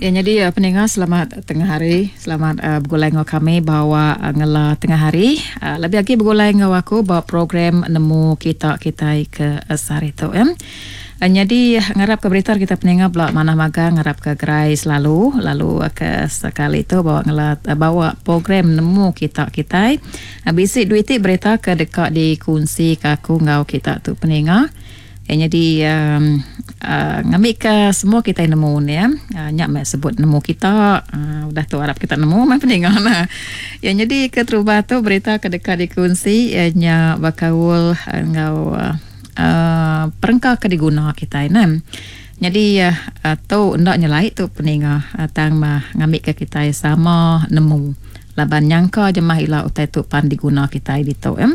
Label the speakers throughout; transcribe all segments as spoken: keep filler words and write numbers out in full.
Speaker 1: Ya, jadi uh, pendengar, selamat tengah hari. Selamat uh, begulai dengan kami bawa uh, ngela tengah hari. Uh, lebih lagi begulai dengan aku bawa program Nemu Kita Kitai ke uh, sehari tu ya. Uh, jadi ngarap ke berita kita pendengar belak mana magang, ngarap ke gerai selalu, lalu uh, ke sekali tu bawa ngela uh, bawa program Nemu Kita Kitai. Uh, bisi duit berita ke dekat dikunsi ke aku ngau kita tu pendengar. Ya, jadi um, uh, ngambil ke semua kita nemu ni ya. Uh, nyak mek sebut nemu kita uh, udah tu harap kita nemu mah pendengar nah. Ya, jadi keterubah tu berita ke dekat dikunsi ya, nya bakaul ngau uh, uh, perengka ke diguna kita nah. Jadi uh, tu ndak nyelai tu pendengar uh, tang mah ngambil ke kita sama nemu. Laban nyangka jemah ila utai tu pan diguna kita ditu ya.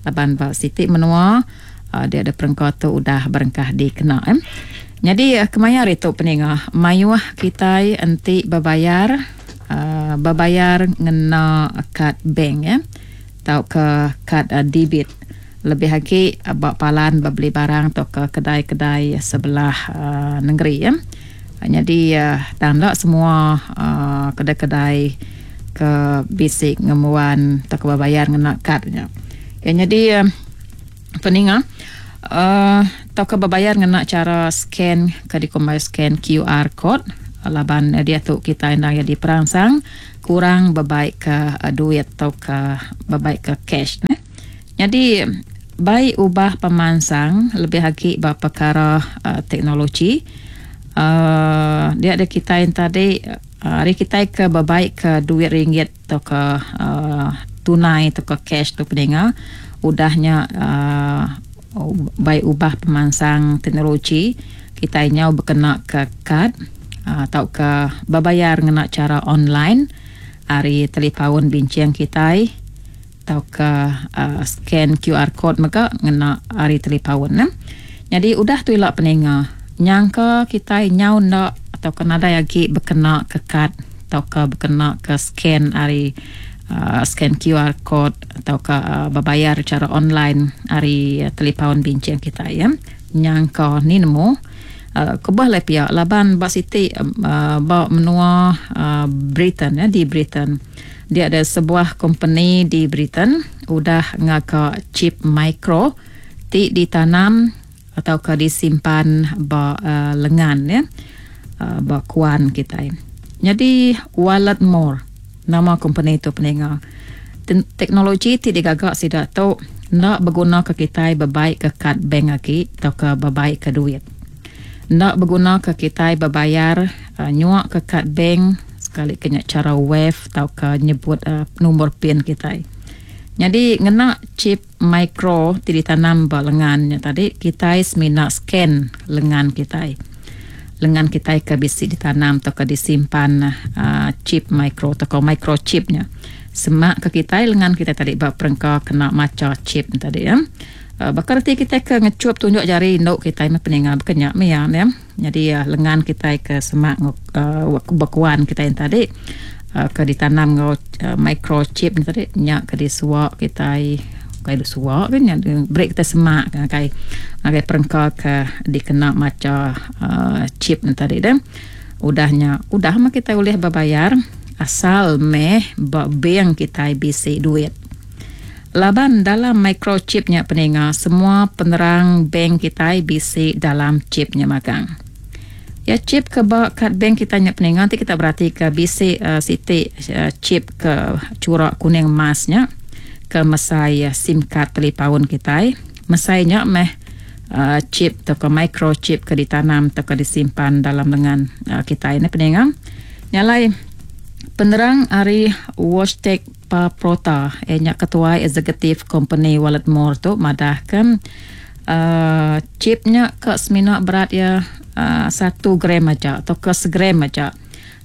Speaker 1: Laban ba siti menua Uh, dia ada perengka tu udah berengkah dikena eh. Jadi uh, kemaya hari tu peninga mayuh kita enti berbayar uh, berbayar ngena kad bank ya, atau ke kad uh, debit. Lebih lagi uh, bak palan beli barang atau ke kedai-kedai sebelah uh, negeri ya. Jadi uh, tanda semua uh, kedai-kedai ke bisik ngemuan atau ke berbayar ngena kadnya. Ya, jadi uh, peninga uh, atau ke berbayar ngena cara scan ke dikumbai scan Q R code laban uh, dia tu kita endang jadi perangsang kurang berbaik ke uh, duit atau ke berbaik ke cash ne. Jadi baik ubah pemansang lebih lagi ba perkara uh, teknologi uh, dia ada kita yang tadi uh, hari kita ke berbaik ke duit ringgit atau ke uh, tunai atau ke cash tu peninga udahnya uh, baik ubah pemansang teknologi kita nyau berkena ke kad uh, atau ke berbayar ngena cara online hari telefon bincang kita atau ke uh, scan Q R code mega ngena hari telefon ne. Jadi udah tu ilak peninga nyangka kita nyau ndak atau ke nadai lagi berkena ke kad atau ke berkena ke scan hari Uh, scan Q R code atau ke uh, berbayar secara online hari uh, telefon bincang kita ya. Nyangka ni nemu uh, kebah le pihak laban bak siti uh, bak menua uh, Britain ya, di Britain. Dia ada sebuah company di Britain udah ngaka chip micro ti ditanam atau ke disimpan bak uh, lengan ya. Uh, bak kuan kita. Jadi Walletmor nama company itu peninga. Teknologi ti digagak sidak tu nak berguna ke kita berbaik ke kad bank lagi atau ke berbaik ke duit. Nak berguna ke kita berbayar uh, nyuak ke kad bank sekali kena cara wave atau ke nyebut uh, nombor pin kita. Jadi ngena chip micro ti ditanam ba lengannya tadi kita semina scan lengan kita. Lengan kita ke bisi ditanam atau ke disimpan uh, chip micro atau ke microchipnya. Semak ke kita lengan kita tadi bak perengka kena maca chip tadi ya. Uh, bakal reti kita ke ngecup tunjuk jari induk kita meh peningal bekenyak meh ya. Jadi uh, lengan kita ke semak uh, bekuan kita yang tadi uh, ke ditanam ngau uh, microchip ni tadi nyak ke disuak kita kai suak kan yang break kita semak kan kai kai perengka ke dikena maca uh, chip ni tadi dah. Udahnya udah mah kita boleh berbayar asal meh ba bank kita bisi duit. Laban dalam microchipnya peninga semua penerang bank kita bisi dalam chipnya magang. Ya chip ke ba kad bank kita nya peninga nanti kita berarti ke bisi uh, siti uh, chip ke curak kuning emasnya ke mesai uh, SIM card telefon kita. Mesainya meh uh, chip atau ke microchip ke ditanam atau ke disimpan dalam lengan uh, kita ini peninga. Nyalai penerang ari Wojtek Paprota eh, nya ketua eksekutif company Walletmor tu madahkan uh, chipnya ke semina berat ya uh, satu gram aja atau ke segram aja.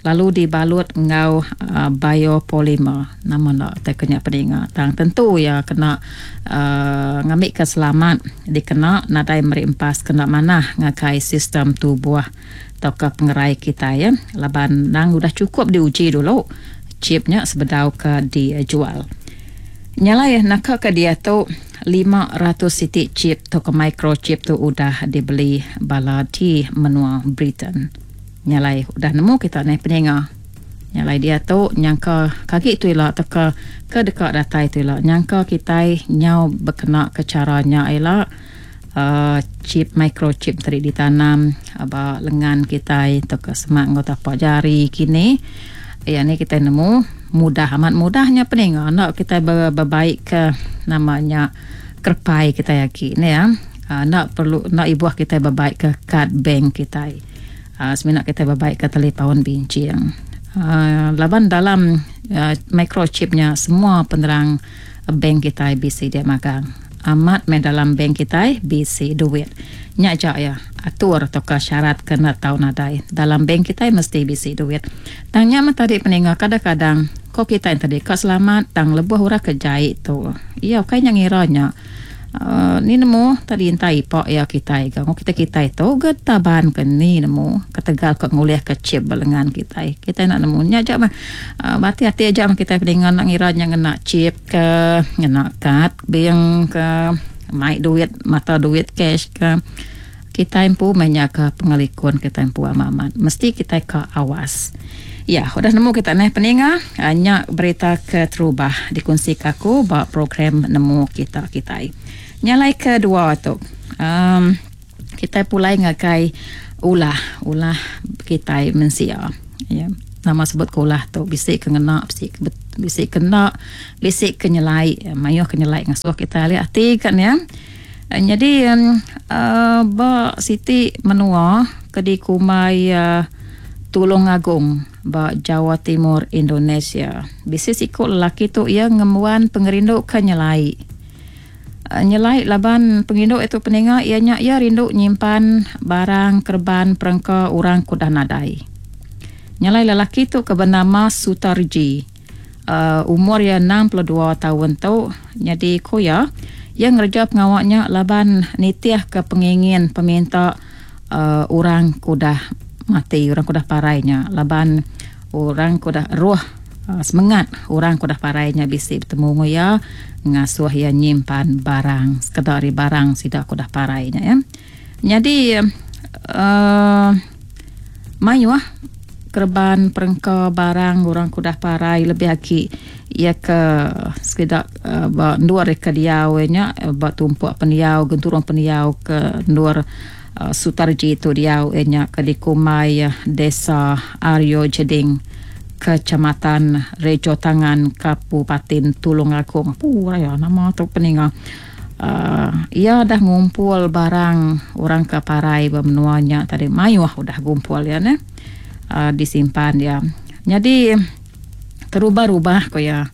Speaker 1: Lalu dibalut ngau uh, biopolymer nama nak tak kena peninga tang tentu ya kena uh, ngambil ke selamat dikena nadai merimpas kena manah ngakai sistem tubuh atau ke pengerai kita ya laban nang udah cukup diuji dulu chipnya sebedau ke dijual. Nyala ya nak ke dia tu lima ratus siti chip atau ke microchip tu udah dibeli bala di menua Britain. Nyalai udah nemu kita neh peninga. Nyalai diatu nyangka kagi tu ila tauka ke deka datai tu ila nyangka kitai nyau bekena ke chara nya ila uhh chip microchip tadi ditanam ba lengan kitai tauka semak enggau tapa jari kini. Iya ni kitai nemu mudah amat mudah nya peninga enda kitai bebaik ke nama nya kerepai kitai agi ne ya. Enda perlu enda ibuh kitai bebaik ke kad bank kitai. Uhh semina kitai bebaik ke telepaun binching. Uhh laban dalam uhh microchip nya semua penerang bank kitai bisi dia magang. Amat meh dalam bank kitai bisi duit. Nya aja iya atur tauka syarat ke enda tau nadai. Dalam bank kitai mesti bisi duit. Tang nya meh tadi peninga kadang-kadang ko kitai tadi ka selamat tang lebuh orang ke jai tu. Iya ukai nya ngira nya. Uhh ni nemu tadi intai ipa iya kitai ga ngo kitai kitai tu ga taban ke ni nemu ketegal ka ngulih ke chip ba lengan kitai. Kitai enda nemu nya aja meh uhh bati ati aja meh kitai peninga enda ngira nya ngena chip ke ngena kad bank ke mai duit mata duit cash ke kitai empu meh nyaga pengelikun kitai empu amat amat mesti kitai ka awas. Ya udah nemu kita neh peninga nya berita keterubah dikunsi ka aku ba program nemu kita kitai. Nya alai kedua tu um kitai pulai ngagai ulah ulah kitai mensia. Ya nama sebut ke ulah tu bisi ke ngena bisi ke bisi ke enda bisi ke nyelai mayuh ke nyelai ngasuh kitai alih ati ka ne. Nyadi um ba siti menua ke dikumbai um Tulungagung ba Jawa Timur Indonesia. Bisi siku lelaki tu iya ngembuan pengerindu ke nyelai. Nyelai laban pengerindu iya tu peninga iya nya iya rindu nyimpan barang kereban perengka orang ke udah nadai. Nyelai lelaki tu ke benama Sutarji. Uhh umur iya enam puluh dua taun tu nyadi ku iya, iya ngereja pengawa nya laban nitihka pengingin peminta uhh orang ke udah mati, orang ke udah parai nya laban orang ke udah roh semengat orang ke udah parai nya bisi betemu enggau iya ngasuh iya nyimpan barang sekeda ari barang sida ke udah parai nya ya. Nyadi uhh mayuh kereban perengka barang orang ke udah parai lebih agi iya ke sekeda ba endur ke diau iya nya ba tumpuk pendiau genturung pendiau ke endur Sutarji tu diau iya nya ke dikumbai Desa Aryo Jeding, Kecamatan Rejo Tangan, Kabupaten Tulungagung. Apu raya nama tu peninga. uhh Iya dah ngumpul barang orang ke parai ba menua nya tadi mayuh udah gumpul iya neh. uhh Disimpan iya. Nyadi terubah-rubah ku iya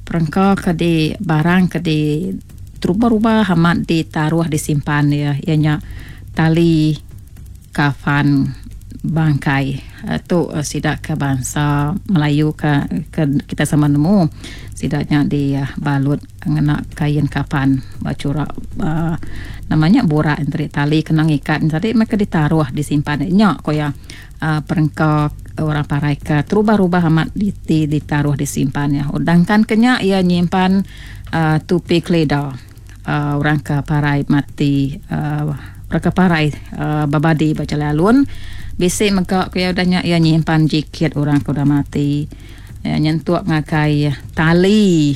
Speaker 1: perengka ke di barang ke di terubah-rubah amat ditaruh disimpan iya iya nya tali kafan bangkai. Tu sida ke bansa Melayu ke ke kita sama nemu sida nya dibalut ngena kain kafan ba chura uhh nama nya burak enti tali kena ngikat tadi meh ke ditaruh disimpan nya ku iya uhh perengka orang parai ke terubah-rubah amat di ditaruh disimpan iya. Dangkan ke nya iya nyimpan uhh tupi kelida uhh orang ke parai mati uhh orang ke parai uhh bebadi ba jalai alun. Bisi mega ku iya udah nya iya nyimpan jaket orang ke udah mati. Iya nyentuk ngagai tali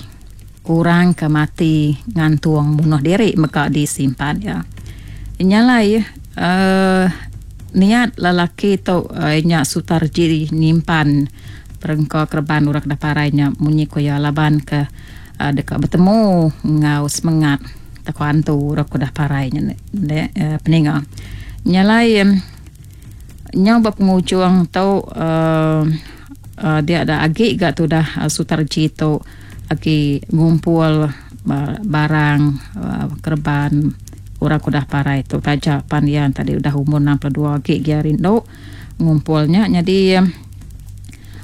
Speaker 1: orang ke mati ngantung munuh diri mega disimpan iya. Nya alai uhh niat lelaki tu nya Sutarji nyimpan perengka kereban orang ke udah parai nya munyi ku iya laban ke deka betemu enggau semengat tauka antu orang ke udah parai nya peninga. Nya alai nyau ba pengujung tu uhh dia da agi ga tudah Sutarji tu agi ngumpul barang kereban orang ke udah parai tu taja pan iya tadi udah umur enam puluh dua agi gia rindu ngumpul nya nyadi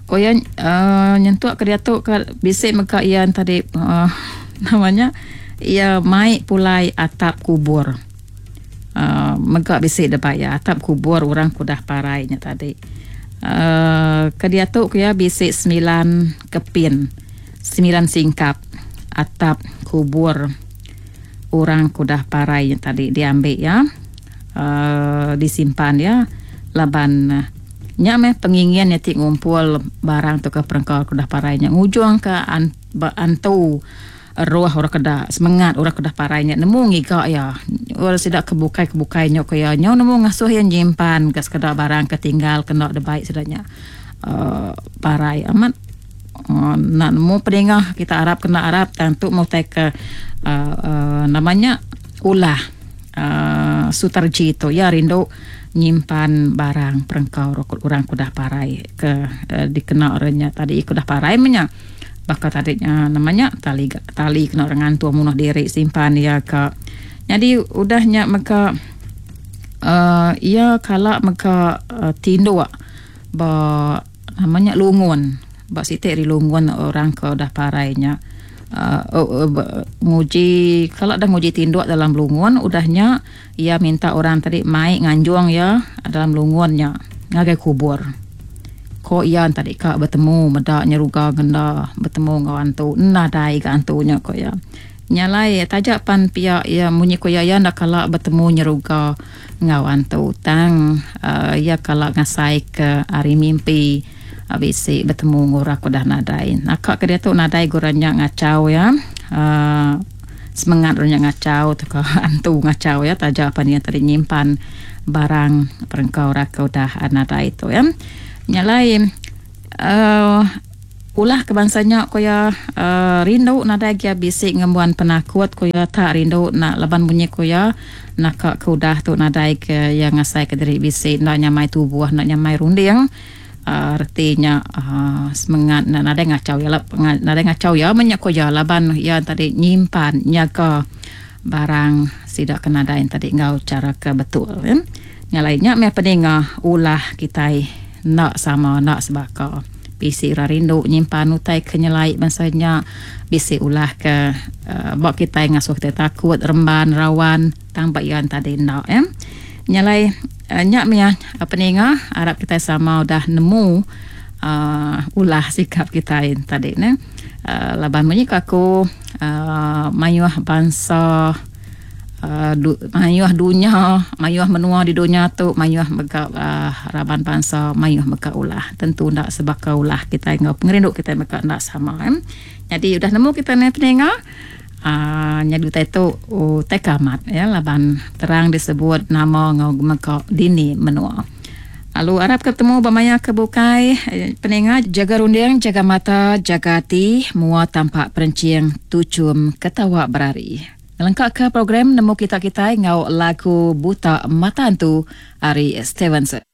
Speaker 1: ku iya uhh nyentuk ke diatu ke bisi mega iya tadi uhh nama nya iya mai pulai atap kubur uhh mega bisi deba iya atap kubur orang ke udah parai nya tadi uhh ke diatu ku iya bisi semilan kepin semilan singkap atap kubur orang ke udah parai nya tadi diambi iya uhh disimpan iya laban Nya meh pengingin iya ti ngumpul barang tauka perengka ke udah parai nya ngujungka ba antu roh orang ke da semengat orang ke udah parai nya nemu ngiga iya. Orang sida ke bukai ke bukai nya ku iya nyau nemu ngasuh iya nyimpan ka sekeda barang ke tinggal kena dibai sida nya uhh parai amat uhh enda nemu pedingah kita arap kena arap tang tu meh utai ke uhh nama nya ulah uhh Sutarji tu iya rindu nyimpan barang perengka orang ke udah parai ke dikena orang nya tadi ke udah parai meh nya. Baka tadi nya nama nya tali tali kena orang ngantung munuh diri simpan iya ka. Nyadi udah nya mega uhh iya kala mega tinduk ba nama nya lungun ba siti ari lungun orang ke udah parai nya uhh nguji kala deh nguji tinduk dalam lungun udah nya iya minta orang tadi mai nganjung iya dalam lungun nya ngagai kubur. Ko iya tadi ka betemu meda nyeruga ngenda betemu enggau antu nadai ga antu nya ko iya. Nya alai taja pan pia iya munyi ko iya iya enda kala betemu nyeruga enggau antu tang uhh iya kala ngasai ke ari mimpi bisi betemu enggau orang ke udah nadai. Naka ke diatu nadai ga orang nya ngachau iya uhh semengat orang nya ngachau tauka antu ngachau iya taja pan iya tadi nyimpan barang perengka orang ke udah nadai tu iya. Nya alai uhh ulah ke bansa nya ku iya uhh rindu nadai agi bisi ngembuan penakut ku iya tak rindu enda laban munyi ku iya naka ke udah tu nadai ke iya ngasai ke diri bisi enda nyamai tubuh enda nyamai runding uhh reti nya uhh semengat ne nadai ngachau iya nadai ngachau iya meh nya ku iya laban iya tadi nyimpan nyaga barang sida ke nadai tadi enggau chara ke betul. Nya alai nya meh peninga ulah kitai enda sama enda sebaka. Bisi orang rindu nyimpan utai ke nyelai bansa nya bisi ulah ke ba kitai ngasuh kitai takut remban rawan tang ba iya tadi enda ya. Nya alai nya mih peninga arap kitai sama udah nemu uhh ulah sikap kitai tadi neh uhh laban munyi ku aku uhh mayuh bansa. Mayuh dunya, mayuh menua di dunya tu mayuh mega raban bansa mayuh mega ulah. Tentu enda sebaka ulah kitai enggau pengerindu kitai mega enda sama. Nyadi udah nemu kitai meh peninga aaa nyadi utai tu utai ke amat ya laban terang disebut nama enggau mega dini menua. Lalu arap ke betemu ba maya ke bukai peninga jaga runding jaga mata jaga ati mua tampak perenching tuchum ketawa berari. Ngelengkaka program nemu kita kitai enggau lagu Buta Mata Antu ari Stevenson.